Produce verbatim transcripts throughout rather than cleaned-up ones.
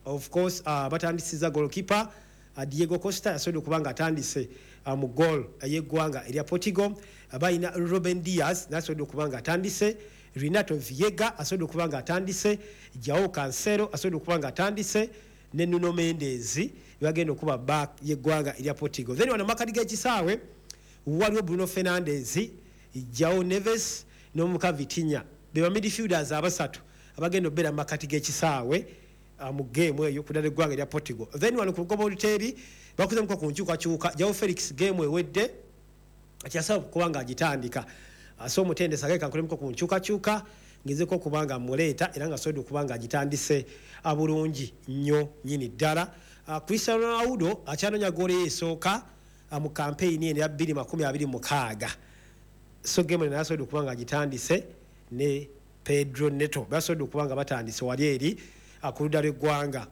Of course, uh, batandisiza goalkeeper uh, Diego Costa, yasobodde okuba nga atandise uh, mu goal ey'eggwanga erya Portugal. uh, balina Ruben Dias, nasobodde okuba nga atandise, Renato Veiga asobodde okuba nga atandise, Joao Cancelo asobodde okuba nga atandise, ne Nuno Mendes, bagenda okuba back y'eggwanga erya Portugal. Then wano makati g'ekisaawe waliwo Bruno Fernandes, Joao Neves n'omuka Vitinha, be ba midfielders abasatu abagenda okubeera mu makati g'ekisaawe uh, mu game eyo kudala eggwanga erya Portugal. Then wano ku lugoba oluteebi bakuzemuko ku nkyukakyuka. Joao Felix game ewedde kyasaba kuba nga agitandika, uh, so omutendesi ageka nkolemuko ku nkyukakyuka, ngezeko okuba nga muleeta, era nga asobodde okuba nga agitandise uh, bulungi nnyo nnyini ddala. Cristiano Ronaldo akyanoonya goolo ye esooka mu kampeyini eno ya bbiri makumi abiri mukaaga, so game eno nasobodde okuba nga agitandise ne Pedro Neto, basobodde okuba nga batandise wali eri ku ludda lw'eggwanga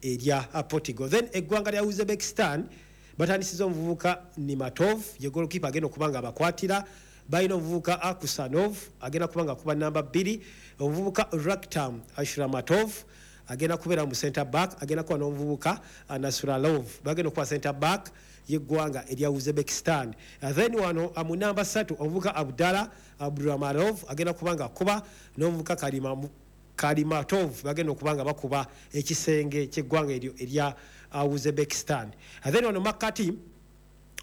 erya Portugal. Then eggwanga lya Uzbekistan batandisiza omuvubuka Nematov, ye goalkeeper agenda okuba nga abakwatira. Balina omuvubuka Akusanov, agenda kuba nga akuba namba bbiri, omuvubuka Raktam Ashramatov agenda kubeera mu center back, agenda kuba n'omuvubuka Nasralov, bagenda okuba center back yeggwanga erya Uzbekistan. Then wano mu namba ssatu omuvubuka Abdallah Abduramarov agenda kuba nga akuba n'omuvubuka Karima Kalimatov, bagenda okuba nga bakuba ekisenge kyeggwanga eryo erya Uzbekistan. Then wano makati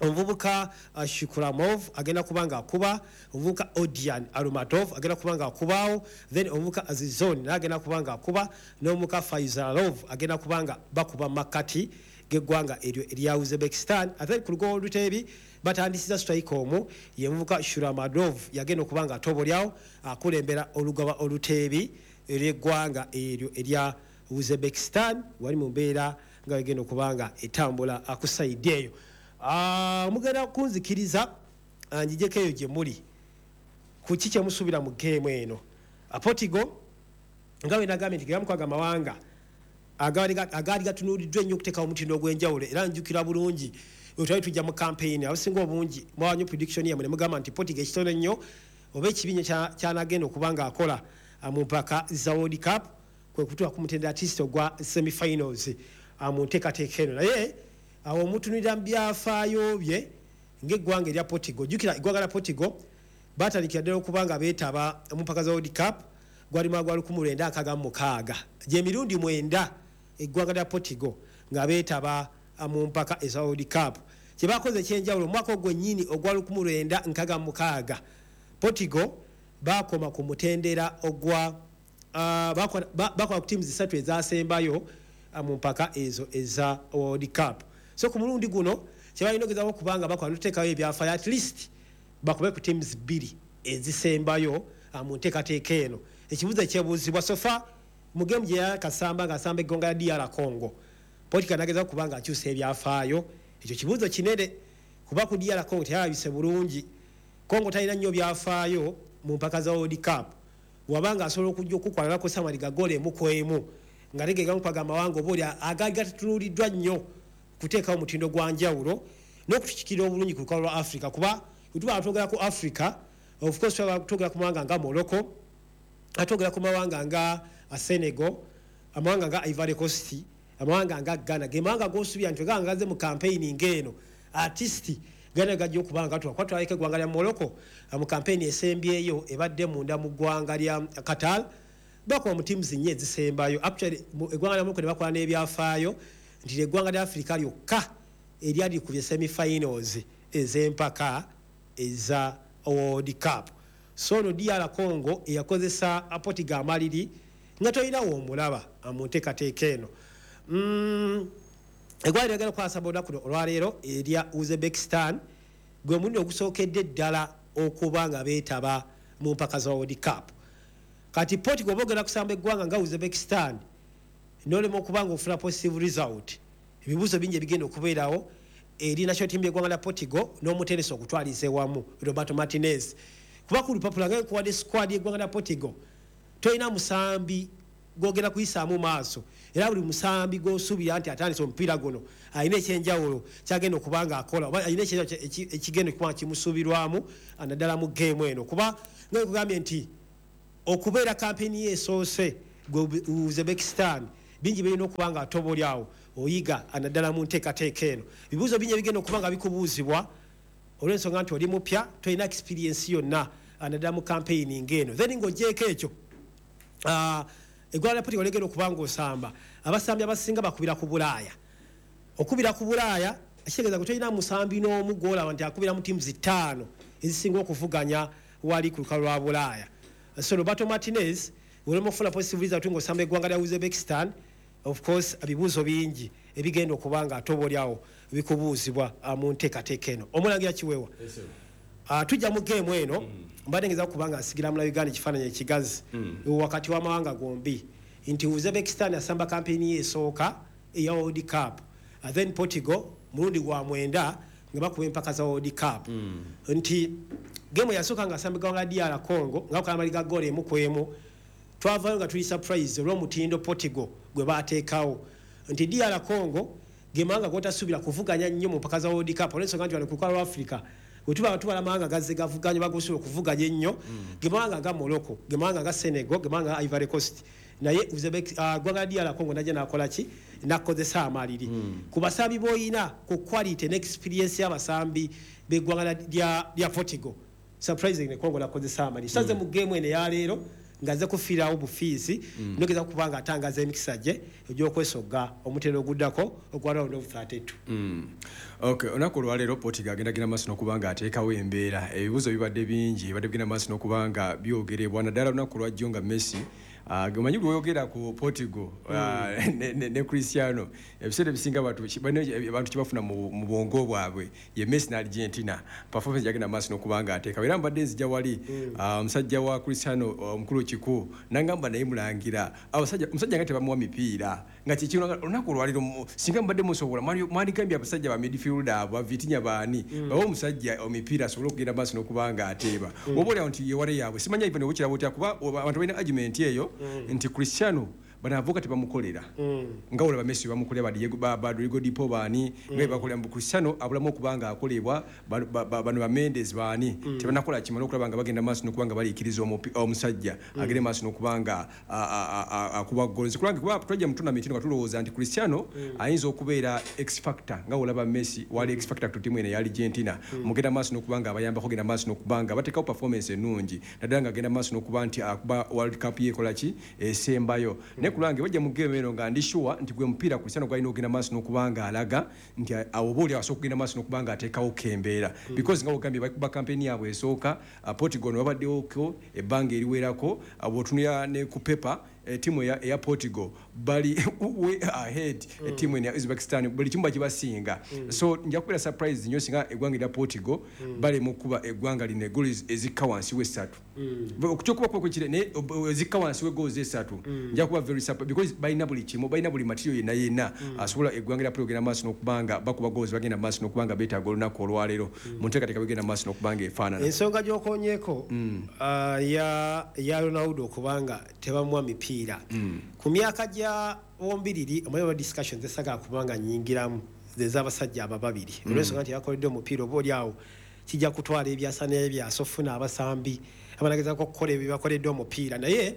omuvubuka uh, Shikuramov agenda kuba nga akuba, omuvubuka Odian Arumatov agenda kuba nga akubaawo, then omuvubuka Azizon naye agenda kuba nga akuba, n'omuvubuka Faizalov agenda kuba nga bakuba makati g'eggwanga eryo erya Uzbekistan. Ate ku lugoba oluteebi batandisiza striker omu, ye muvubuka Shuramadov, yagenda okuba nga atobolyawo akulembera olugaba oluteebi ery'eggwanga eryo erya Uzbekistan, wali mu mbeera nga wegenda okuba nga etambula ku side eyo. Ah, mugenda kunzikiriza ah, njijeko eyo gye muli ku ki kyemusuubira mu game eno. Ah, Portugal nga bwe nagambye nti gegamu amawanga agaali ga- agaali gatunuuliddwa ennyo okuteekawo omutindo ogw'enjawulo, era njukira bulungi bwe twali tujja mu campaign, abasinga obungi mwawanyo prediction yammwe ne mugamba nti Portugal ekitono ennyo oba ekibi nnyo kya- kyanagenda okuba nga akola ah, mu mpaka za World Cup kwe kutuuka ku mutendera at least ogwa semifinals ah, mu nteekateeka eno. Naye awo omutunulira mu byafaayo bye ng'eggwanga erya Portugal, jjukira eggwanga lya Portugal batandikira ddala okuba nga beetaba mu mpaka za World Cup gwali mwaka gwa lukumi lwenda nkaaga mu mukaaga, gyemirundi mwenda eggwanga lya Portugal nga beetaba ah, mu mpaka eza World Cup. Kyebakoze ekyenjawulo, omwaka ogwo nnyini ogwa lukumi lwenda nkaaga mu mukaaga Portugal bakoma ku mutendera ogwa ah, bakola ba- bakola ku tiimu zisatu ezasembayo ah, mu mpaka ezo eza World Cup. So ku mulundi guno kyebalina ogezaako okubanga bakola notuteekayo ebyafaayo, at least bakube ku teams bbiri ezisembayo ah, mu nteekateeka eno. Ekibuuzo ekyebuuzibwa, so far mu game gye yakasamba ng'asamba eggwanga lya D R Congo, Portugal nagezaako kuba nga akyusa ebyafaayo? Ekyo kibuuzo kinene, kuba ku D R Congo teyalabise bulungi. Congo talina nnyo byafaayo mu mpaka za World Cup, wabanga asobola okujja okukwala nakosa maliga goolo emu ku emu, nga tegegamupaga amawanga oba oli agaali gatunuuliddwa nnyo kuteekawo omutindo gwa njawulo n'okutukikirira obulungi ku lukalu lwa Africa. Kuba bwe tuba twogera ku Africa, of course tuba twogera ku mawanga nga Morocco, atwogera ku mawanga nga Senegal, amawanga nga Ivory Coast, amawanga nga Ghana, ge mawanga gosubira nti weganga gaze mu campaign ng'eno, at least gana gajja okuba nga tuba kuba twaleka eggwanga lya Morocco mu campaign esembyeyo ebadde munda mu ggwanga lya Qatar, bakuba mu teams nnyo ezisembayo. Actually, mu- eggwanga lya Morocco ne bakola n'ebyafaayo nti eggwanga lya Africa lyokka eryali likubye semifinals ez'empaka eza World Cup. So no D R Congo eyakozesa Portugal amaliri nga tolinawo omulaba mu nteekateeka eno. Mm, eggwanga lyagala okukwasa olunaku luno olwaleero erya Uzbekistan gwe mulundi ogusookedde ddala okuba nga beetaba mu mpaka za World Cup. Kati Portugal oba ogenda kusamba eggwanga nga Uzbekistan nolema okuba nga ofuna positive result, ebibuuzo bingi ebigenda okubeerawo eri national team yeggwanga lya Portugal n'omutendesi okutwaliza ewamu Roberto Martinez, kuba ku lupapula nga nkuwadde squad yeggwanga lya Portugal, tolina musambi gwogenda kuyisaamu maaso, era buli musambi gwosuubira nti atandise omupiira guno alina ekyenjawulo kyagenda okuba nga akola oba alina ekyenjawulo eki- ekigenda okuba nga kimusuubirwamu naddala mu game eno. Kuba nga nkugambye nti okubeera kampeni ye esoose gwe Uzbekistan Bingi birina okuba nga ate oba oli awo oyiga, naddala mu nteekateeka eno. Bibuuzo bingi ebigenda okuba nga bikubuuzibwa olw'ensonga nti oli mupya, tolina experience yonna, naddala mu campaigning eno. Then ng'ogyeko ekyo, ah, eggwanga lya Portugal ligenda okuba ng'osamba abasambi abasinga bakubira ku Bulaaya. Okubira ku Bulaaya kitegeeza gwe tolina musambi n'omu gw'olaba nti akubira mu tiimu ttaano ezisinga okuvuganya wali ku lukalu lwa Bulaaya. So Roberto Martinez olema okufuna positive result ng'osamba eggwanga lya Uzbekistan, of course ebibuuzo bingi ebigenda okuba nga ate oba oli awo bikubuuzibwa ah, mu nteekateeka eno. Omulangira Kiweewa, Uh, tujja mu geemu eno. Mbadde ngeza kuba nga nsigira mula Uganda ekifaananyi ekigazi wakati w'amawanga gombi, nti Uzbekistan asamba kampeyini ye esooka eya World Cup, uh, then Portugal mulundi gwa mwenda nga bakuba empaka za World Cup, nti geemu yasooka nga asamba eggwanga D R Congo nga bakola goolo emu ku emu. Twavayo nga tuli surprise olw'omutindo Portugal gwe bateekawo, nti D R Congo ge mawanga gotasuubira kuvuganya nnyo mu mpaka za World Cup, olw'ensonga nti wano ku lukalu lwa Africa bwe tuba tubala amawanga gazze gavuganya bagusobola okuvuganya ennyo, ge mawanga nga Morocco, ge mawanga nga Senegal, ge mawanga nga Ivory Coast. Naye Uzbek- ah, ggwanga lya D R Congo najja nakola ki? Nakozesa amaliri ku basambi boyina, ku quality ne experience y'abasambi b'eggwanga lya lya Portugal. Surprisingly, Congo nakozesa amaliri. Saze mu game eno eyaleero ngaze kufiirawo bufiisi, nogeza kuba nga atangaza emikisa gye egy'okwesogga omutendo oguddako ogwa round of thirty-two. Mm. Okay, olunaku olwaleero Portugal agenda genda maaso n'okuba nga ateekawo embeera. Ebibuuzo bibadde bingi, bibadde bigenda maaso n'okuba nga byogerebwa, naddala olunaku olwajjo nga Messi. Ah, omanyi lwoyogera ku Portugal ah, ne, ne, ne Cristiano, ebiseera ebisinga abantu balina abantu kyebafuna mu mu bwongo bwabwe ye Messi ne Argentina, performance gyagenda maaso n'okuba nga ateekawo. Era mbadde nzija wali, ah, omusajja wa Cristiano omukulu Kiku nangamba, naye mulangira abasajja, omusajja nga tebamuwa mipiira nga kikino. Olunaku olwaleero mu- singa mubadde musobola, mwali- mwandigambye abasajja ba midfielder abo, ba Vitinha, baani, bawe omusajja omipiira asobole okugenda maaso n'okuba nga ateeba. Oba oliawo nti yewale yaabwe, simanya even oba kirabo otya, kuba oba- abantu balina argument eyo nti Cristiano bano avuka tebamukolera nga olaba Messi bamukolera, ba Diego, ba ba Rodrigo De Paul, baani nga bebakolera, mbu Cristiano abulamu okuba nga akolebwa. ba- ba- ba- bano ba Mendes baani tebanakola kimala okulaba nga bagenda maaso n'okuba nga baliikiriza omupi- omusajja agende maaso n'okuba nga a- a- a- akuba goal. Nze kulanga kuba twajja mu tournament eno nga tulowooza nti Cristiano ayinza okubeera X factor nga olaba Messi wali X factor ku ttiimu eno eya Argentina, mugenda maaso n'okuba nga abayambako, genda maaso n'okuba nga bateekawo performance ennungi, naddala nga agenda maaso n'okuba nti akuba World Cup ye ekola ki esembayo. Naye kulwange bajja mu game eno nga ndi sure nti gwe mupiira Cristiano gwalina okugenda maaso n'okuba nga alaga nti awo oba oli asobola okugenda maaso n'okuba nga ateekawo kembeera, because nga ogambye bakuba campaign yaabwe esooka. uh, Portugal ne babaddewoko ebbanga eriwerako. uh, bw'otunula ne ku paper, ettiimu eya, eya Portugal bali way ahead ettiimu eno ya Uzbekistan, buli kimu bakibasinga. So nja kubeera surprise nnyo singa eggwanga erya Portugal balema okuba eggwanga lino eggoolo ezikka wansi w'essatu. Kyokuba kuba kwekire, naye ob- ezikka wansi w'eggoolo esatu nja kuba very surprised, because balina buli kimu, balina buli material yenna yenna asobola eggwanga lya Portugal genda maaso n'okuba nga bakuba goals. Bagenda maaso n'okuba nga beetaaga olunaku olwaleero mu nteekateeka begenda maaso n'okuba nga efaanana. Ensonga gy'okonyeeko ah, ya ya Ronaldo okubanga tebamuwa mipiira ku myaka gya bombiriri, omanyi oba discussions esagala kubanga nyingiramu ez'abasajja abo babiri, olw'ensonga nti yakoledde omupiira, oba oli awo kijja kutwala ebyasa n'ebyasa ofuna abasambi abanagezako okukola ebyo bakoledde omupiira. Naye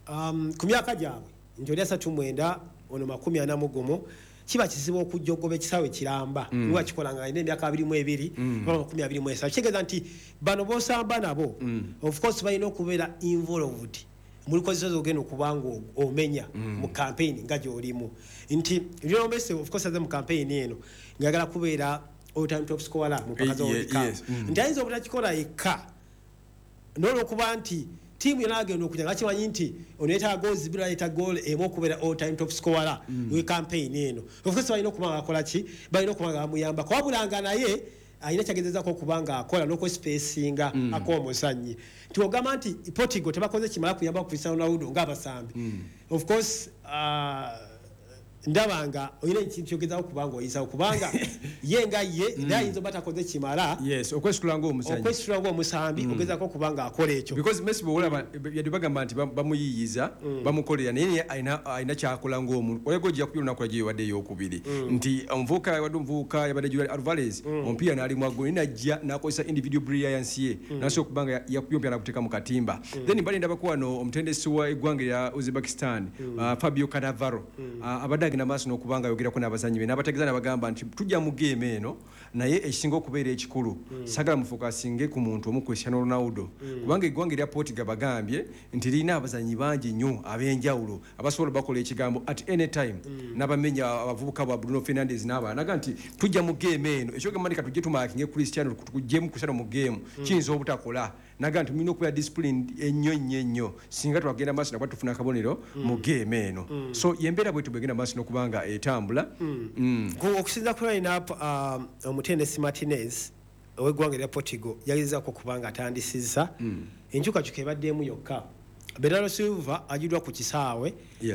um, ku myaka gyabwe nti oli asatu mwenda, ono makumi ana mu gumu, kiba kizibu okujja ogoba ekisaawe kiramba mm. Nga kikola nga alina emyaka abiri mu ebiri oba makumi abiri mu esatu. Kitegeeza nti bano bosamba nabo mm. of course balina okubeera involved mu lukozesa ogenda okuba nga omenya mu campaign nga gy'olimu, nti Lionel Messi of course aze mu campaign eno ng'ayagala kubeera all time top scorer mu mpaka za Eh, World Cup, yes, mm. nti ayinza obutakikola yekka n'olwokuba nti tiimu yonna agenda okujja nga kimanyi nti ono yeetaaga goals bbiri, yeetaaga goal emu okubeera all time top scorer we campaign eno. Of course balina okuba nga bakola ki? Balina okuba nga bamuyambako, wabula nga naye alina kyagezezako okuba nga akola n'okwespacinga mm. ak'omuzannyi, nti ogamba nti Portugal tebakoze kimala kuyamba ku Cristiano Ronaldo ng'abasambi. Of course uh, Ndaba nga olina ekintu kyogezaako kubanga oyisawo, kubanga ye nga ye naye ayinza oba takoze kimala. Yes, okwesitula ng'omuzannyi. Okwesitula ng'omusambi, ogezaako kubanga akola ekyo. Because Messi bw'olaba yadde bagamba nti bamuyiyiza, bamukolera, naye alina alina kyakola ng'omuntu. Olego ojja kubira olunaku lwajjo yabadde ey'okubiri nti omuvubuka yabadde omuvubuka yabadde Julian Alvarez, omupiira n'alimwa ggoolo, naye najja n'akozesa individual brilliance ye, n'asobola okuba nga yakubye omupiira n'aguteeka mu katimba. Then mbadde ndabako wano omutendesi wa eggwanga erya Uzbekistan, Fabio Cannavaro, abadde agenda maaso n'okuba nga ayogerako n'abazannyi be, n'abategeeza n'abagamba nti tujja mu game eno, naye ekisinga okubeera ekikulu, saagala mufokasinge ku muntu omu, Cristiano Ronaldo, kubanga eggwanga erya Portugal bagambye nti lirina abazannyi bangi nnyo ab'enjawulo abasobola bakola ekigambo at any time, n'abamenya abavubuka ba Bruno Fernandes n'abalala. Naga nti tujja mu game eno, ekyogamba nti katujje tumakinge Cristiano, tuggyemu Cristiano mu game, kiyinza obutakola. Naga nti mulina okubeera disciplined ennyo ennyo ennyo singa twagenda maaso nakuba tufuna akabonero mu game eno. So yembeera bwetu bwegenda maaso n'okuba nga etambula. Okusinza ku line up, omutendesi Martinez ow'eggwanga erya Portugal yagezaako okuba nga atandisizza enkyukakyuka ebaddemu yokka. Bernardo Silva agiddwa ku kisaawe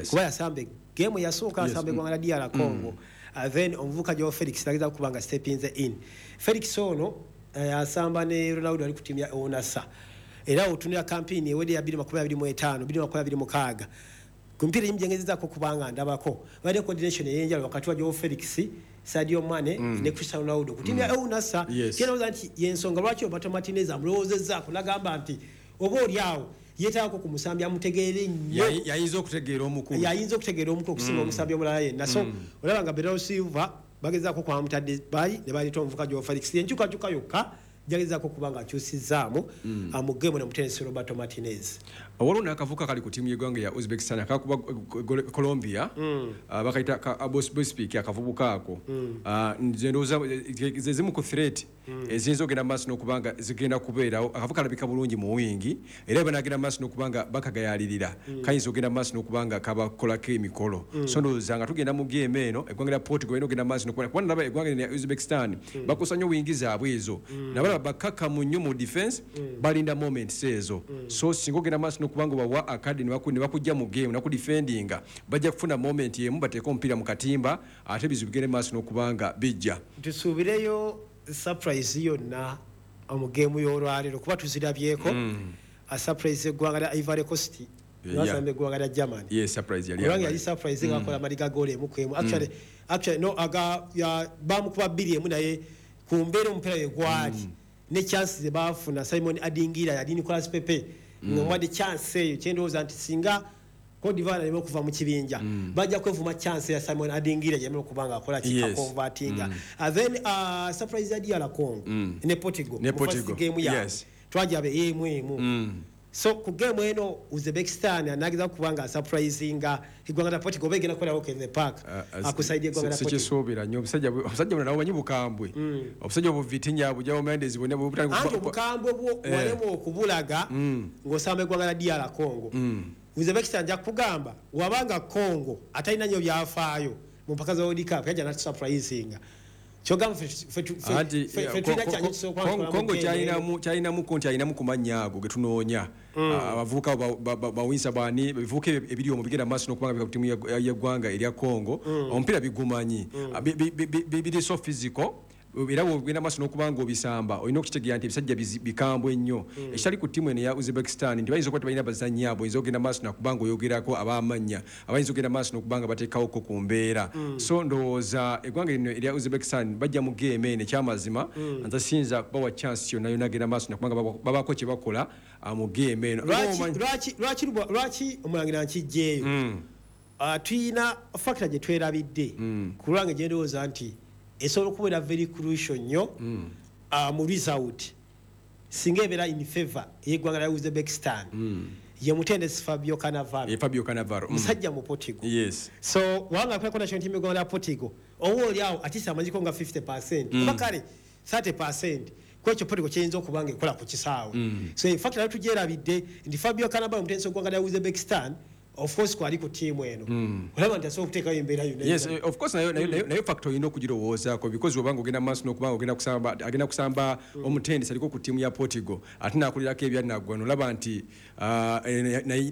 kuba yasamba game yasooka, asamba eggwanga lya D R Congo. Then omuvubuka Joao Felix nagezaako kuba nga stepinze in. Felix ono asamba ne Ronaldo, ali ku ttiimu ya Al Nassr, era otunula campaign ewedde ya bbiri makumi abiri mu ttaano bbiri makumi abiri mu mukaaga, ku mipiira egimu gyengezezaako kubanga ndabako badde coordination ey'enjawulo wakati wa Joao Felix, Sadio Mane ne Cristiano Ronaldo ku ttiimu ya Al Nassr. Kyendowooza nti yensonga lwaki Roberto Martinez amulowoozezzaako nagamba nti oba oli awo yeetaagako ku musambi amutegeere nnyo. Yayinza okutegeera omukulu. Yayinza okutegeera omukulu okusinga omusambi omulala yenna. So olaba nga Bernardo Silva bagezaako kwamutadde bali ne baleeta omuvubuka Joao Felix. Enkyukakyuka yokka jagezaako okuba nga akyusizaamu mu game nomutendesi Roberto Martinez. Waliwo n'akavuka kali ku ttiimu y'eggwanga ya Uzbekistan akakuba Colombia, bakayita Bosbik. Akavubuka ako nze ndowooza ze zimu ku threat eziyinza ogenda maaso n'okuba nga zigenda kubeerawo. Akavuka kalabika bulungi mu wingi, era banagenda maaso n'okuba nga bakagayalirira, kayinza ogenda maaso n'okuba nga kabakolako emikolo. So ndowooza nga tugenda mu game eno, eggwanga lya Portugal balina ogenda maaso n'okuba, kuba nalaba eggwanga lya Uzbekistan bakosa nnyo wingi zaabwe ezo, nabalaba bakakamu nnyo mu defense, balinda moments ezo. So singa ogenda maaso n'okuba nga bawa akadde ne bakujja mu game nakudefendinga, bajja kufuna moment emu bateeke omupiira mu katimba, ate ebizibu bigende maaso n'okuba nga bijja. Tusuubireyo surprise yonna mu geemu y'olwaleero, kuba tuzirabyeko surprise eggwanga lya Ivory Coast basamba eggwanga lya Germany. Yes, surprise yali. Kubanga yali surprise nga akola maliga goal emu ku emu. Actually, actually no, aga bamukuba bbiri emu, naye ku mbeera omupiira we gwali ne chance ze baafuna, Simon Adingira yali Nicolas Pepe nga mwadde chance eyo. Kyendowooza nti singa Cote d'Ivoire aleme okuva mu kibinja, bajja kwevuma chance ya Simon Adingira gyemera okuba nga akola kikaconvertinga. mm. Then uh, surprise ya D R Congo mm. ne Portugal. Ne Portugal game ya yes. Twajabe emu emu mm. So ku game eno Uzbekistan anageza kuba nga surprisinga eggwanga lya Portugal, begenda kukola walk in the park uh, akusaidia eggwanga lya Portugal. Sikisuubira nnyo. Obusajja obusajja buno nabo manyi bukambwe, obusajja obu Vitinha bujja Mendes bonna. Anti obukambwe bwo walema okubulaga ng'osamba eggwanga lya D R Congo. Uzbekistan nja kugamba wabanga Congo atalina nnyo byafaayo mu mpaka za World Cup, yajja natusurprisinga. Kyogamba Congo kyalinamuko nti alinamu ku mannya ago getunoonya abavubuka bawinsa bani, ebivubuka ebiri omwo bigenda maaso n'okubanga ku ttiimu y'eggwanga erya Congo, omupiira bigumanyi, biri so physical, era bwogenda maaso n'okuba nga obisamba olina okukitegeera nti ebisajja bikambwe nnyo. Ekitali ku ttiimu eno eya Uzbekistan nti bayinza okuba tebalina bazannyi abo oyinza okugenda maaso nakuba nga oyogerako ab'amannya abayinza okugenda maaso n'okuba nga bateekawoko ku mbeera. So ndowooza eggwanga lino erya Uzbekistan bajja mu game eno, ekyamazima nze siyinza kubawa chance yonna yonna agenda maaso nakuba nga babaako kye bakola mu game eno. Lwaki omulangira nkijjeeyo? Tuyina factor gye twerabidde ku lwange gye ndowooza nti esobola okubeera very crucial nnyo mu result singa ebeera in favor ey'eggwanga lya Uzbekistan, ye mutendesi Fabio Cannavaro. Fabio Cannavaro. Musajja mu Portugal. Yes. So wanga akolako national team y'eggwanga lya Portugal, oba oli awo atisa amanyiko nga fifty percent oba kale thirty percent kwekyo Portugal kiyinza okuba nga ekola ku kisaawe. So in fact nayo tugyerabidde nti Fabio Cannavaro, omutendesi w'eggwanga lya Uzbekistan, of course kwali ku ttiimu eno, olaba nti asobola okuteekayo embeera yonna. Yes, of course, nayo nayo factor olina okugirowoozaako, because obanga ogenda maaso n'okubanga ogenda kusamba, agenda kusamba omutendesi aliko ku ttiimu ya Portugal ate n'akulirako ebyanaggwano, olaba nti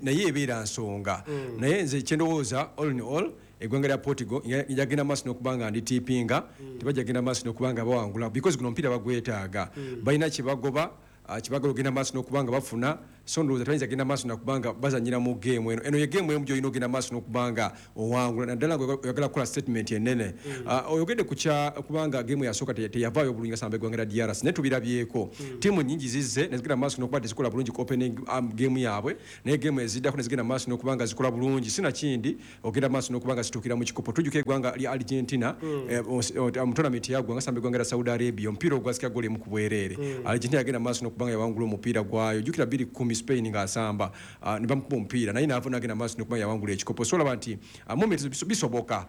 naye ebeera nsonga. Naye nze kyendowooza, all in all, Eggwanga lya Portugal yagenda maaso n'okuba nga nditiipinga, tebajja genda maaso n'okuba nga bawangula because guno omupiira bagwetaaga, balina kye bagoba, kibagala ogenda maaso n'okuba nga bafuna. So ndowooza tebayinza genda maaso nakuba nga bazanyira mu geemu eno. Eno ye geemu emu gy'olina ogenda maaso n'okuba nga owangula, naddala nga oyagala kukola statement ennene. Oyogedde ku kya kubanga geemu yasooka teyavaayo bulungi nga samba eggwanga lya D R C, naye tubirabyeko ttiimu nnyingi zizze ne zigenda maaso n'okuba tezikola bulungi ku opening geemu yaabwe, naye geemu eziddako ne zigenda maaso n'okuba nga zikola bulungi, sinakindi ogenda maaso n'okuba nga zituukira mu kikopo. Tujjuka eggwanga lya Argentina mu tournament yaggwa nga samba eggwanga lya Saudi Arabia, omupiira ogwasika ggoolo emu ku bwereere. Argentina yagenda maaso n'okuba nga yawangula omupiira gwayo. Jjukira bbiri kkumi Spain ng'asamba ne bamukuba omupiira, naye n'ava n'agenda maaso n'okuba yawangula ekikopo. So olaba nti moments bisoboka,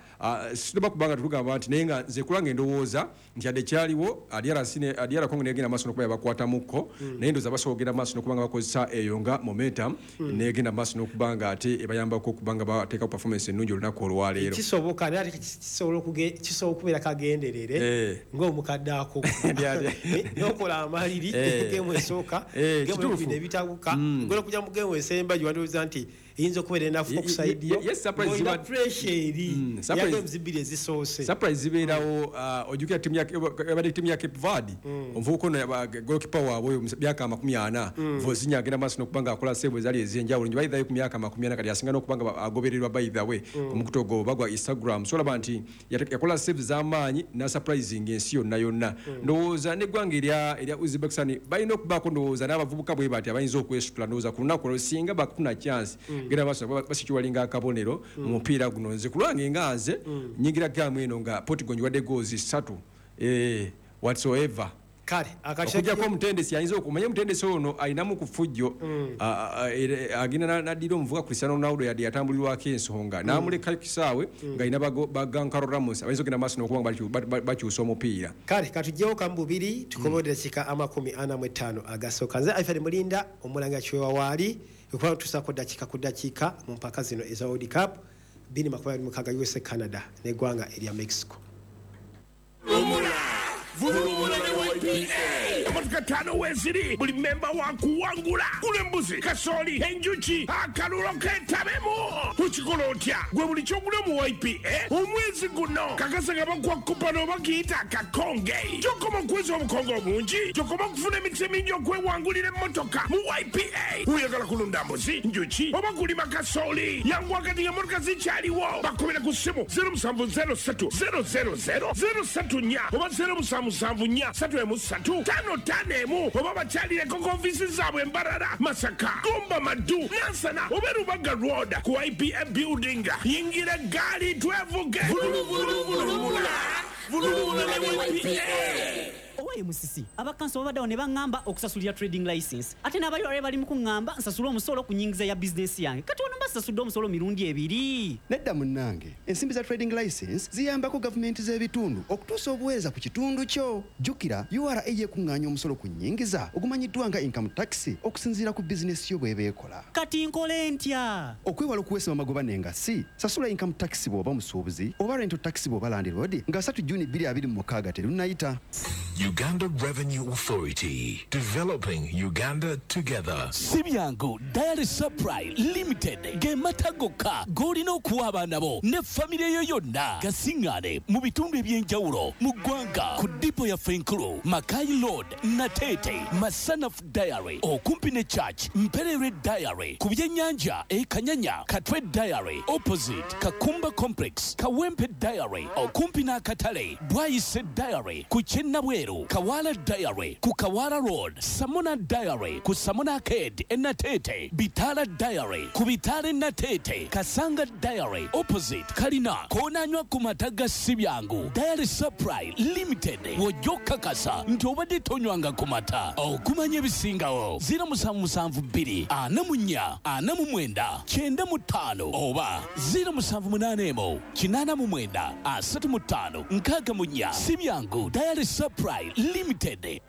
sitoba kubanga tetugamba nti, naye nga nze kulanga endowooza nti yadde kyaliwo D R C ne D R Congo negenda maaso n'okuba yabakwatamuko, naye ndowooza basobola okugenda maaso n'okuba nga bakozesa eyo nga momentum, negenda maaso n'okuba nga ate ebayambako okuba nga bateekawo performance ennungi olunaku olwaleero. Kisoboka, naye ate kisobola okubeera kagenderere ng'omukadde ako n'okola amaliri geemu esooka, geemu ebibiri ne bitabuka, ogenda okujja mu geemu esemba gye wandowooza nti eyinza okubeera enafu okuside yo, olina pressure eri ya games bbiri ezisoose. Surprise zibeerawo. Ojjukira ttiimu yabadde ttiimu ya Cape Verde, omuvubuka ono goalkeeper waabwe oyo myaka amakumi ana, Vozinha, agenda maaso n'okuba nga akola save ezaali ez'enjawulo nti bayithayo ku myaka amakumi ana, kati asinga n'okuba nga agobererwa by the way ku mukutu ogwo oba gwa Instagram. So olaba nti yakola save z'amaanyi na surprising ensi yonna yonna. Ndowooza n'eggwanga erya Uzbekistan balina okubaako ndowooza n'abavubuka bwe bati abayinza okwesitula. Ndowooza ku lunaku olwo singa bakufuna chance genda maaso basikiwalinga akabonero mu mupiira guno. Nze ku lwange nga nze nyingira gaamu eno nga Portugal ngiwadde goals ssatu whatsoever. Kale okujjako omutendesi ayinza okumanya omutendesi ono alinamu ku ffujjo, agenda n'addira omuvubuka Cristiano Ronaldo yadde yatambulirwako ensonga n'amuleka kisaawe ng'alina ba Goncalo Ramos abayinza okugenda maaso n'okuba nga bakyusa omupiira. Kale katugyewo kamu bubiri tukomewo eddakiika amakumi ana mu ttaano agasooka. Nze Alfred Mulinda omulanga kiwewa waali okuba tusaako ddakiika ku ddakiika mu mpaka zino eza World Cup bbiri makumi abiri mukaaga U S A, Canada n'eggwanga erya Mexico. Vulumula ne Y P A. Emotoka ttaano weeziri, buli mmemba wa kuwangula. Gula embuzi, kasooli, enjuki, akalulo keetabemu. Okikola otya? Gwe buli ky'ogula mu Y P A omwezi guno kakasa nga bakuwa kupano bakiyita akakonge. Gy'okoma okweza obukonge obungi, gy'okoma okufuna emikisa emingi okwewangulira emmotoka mu Y P A. Oyagala kulunda mbuzi, njuki oba kulima kasooli, yanguwa kati ng'emmotoka zikyaliwo. Bakubira ku ssimu zero musanvu zero ssatu zero zero zero zero ssatu nnya oba zero musanvu musanvu nnya ssatu emu ssatu ttaano ttaano emu, oba bakyalireko ku ofiisi zaabwe Mbarara, Masaka, Gomba, Maddu, Nansana oba Rubaga Road ku Y P A building. Yingira eggaali twevuge. Vuluvuluvulumula, vuluvula ne Y P A. Owaye Musisi, abakanso babaddewo ne baŋŋamba okusasulira trading license, ate n'abayole bali mu kuŋŋamba nsasule omusolo ku nnyingiza ya bizinesi yange. Kati wano mbasasudde omusolo mirundi ebiri. Nedda munnange, ensimbi za trading license ziyambako gavumenti z'ebitundu okutuusa obuweereza ku kitundu kyo. Jjukira U R A yekuŋŋaanya omusolo ku nnyingiza ogumanyiddwa nga income tax okusinziira ku bizinesi yo bw'eba ekola. Kati nkole ntya? Okwewala okuweesebwa amagoba n'engassi, sasula income tax bw'oba musuubuzi oba rental tax bw'oba landlord nga ssatu Juni bbiri abiri mu mukaaga terunnayita. Uganda Revenue Authority, developing Uganda together. Si byangu, Dairy Supply Limited ge mata gokka g'olina okuwa abaana bo ne famire yo yonna. Gasiŋŋaane mu bitundu eby'enjawulo mu ggwanga ku dipo yaffe enkulu Makai Road, Nateete, Masanafu Dairy okumpi ne Church, Mperere Dairy ku byennyanja e Kanyanya, Katwe Dairy opposite Kakumba Complex, Kawempe Dairy okumpi n'akatale, Bwayise Dairy ku Kyennabweru, Kawala Dairy ku Kawala Road, Samona Dairy ku Samona Arcade e Nateete, Bitala Dairy ku Bitale Nateete, Kasanga Dairy opposite Kalina, koonanywa ku mata ga Sibyangu. Dairy Supply Limited w'ojja okukakasa nti obadde tonywanga ku mata. Okumanya ebisingawo zero musanvu musanvu bbiri ana mu nnya ana mu mwenda kyenda mu ttaano oba zero musanvu munaana emu kinaana mu mwenda asatu mu ttaano nkaaga mu nnya. Sibyangu Dairy Supply Limited.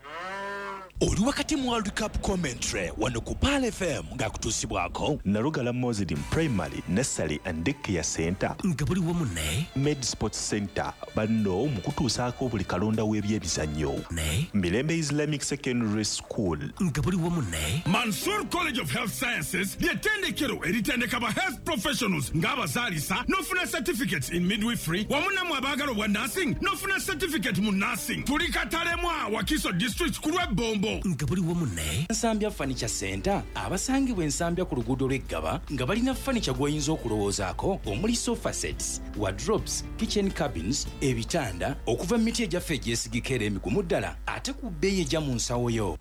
Oli wakati mu World Cup commentary wano ku Pearl F M ng'akutuusibwako Nalugala Muslim Primary, Nursery and Daycare Center, nga buli wamu ne Med Sports Center, banno mu kutuusaako buli kalonda w'ebyemizannyo, ne Mirembe Islamic Secondary School, nga buli wamu ne Mansur College of Health Sciences, ly'ettendekero eritendeka ba health professionals ng'abazaalisa n'ofuna certificates in midwifery, wamu nammwe abaagala obwa nursing n'ofuna certificate mu nursing. Tuli Katalemwa, Wakiso District, ku lw'Ebbombo. Nga buli wamu ne Nsambya Furniture Center, abasangibwa Ensambya ku luguudo lw'Eggaba, nga balina furniture gw'oyinza okulowoozaako, omuli sofa sets, wardrobes, kitchen cabins, ebitanda okuva mu miti egyaffe egyesigika era emigumu ddala, ate ku bbeeyi ejja mu nsawo yo.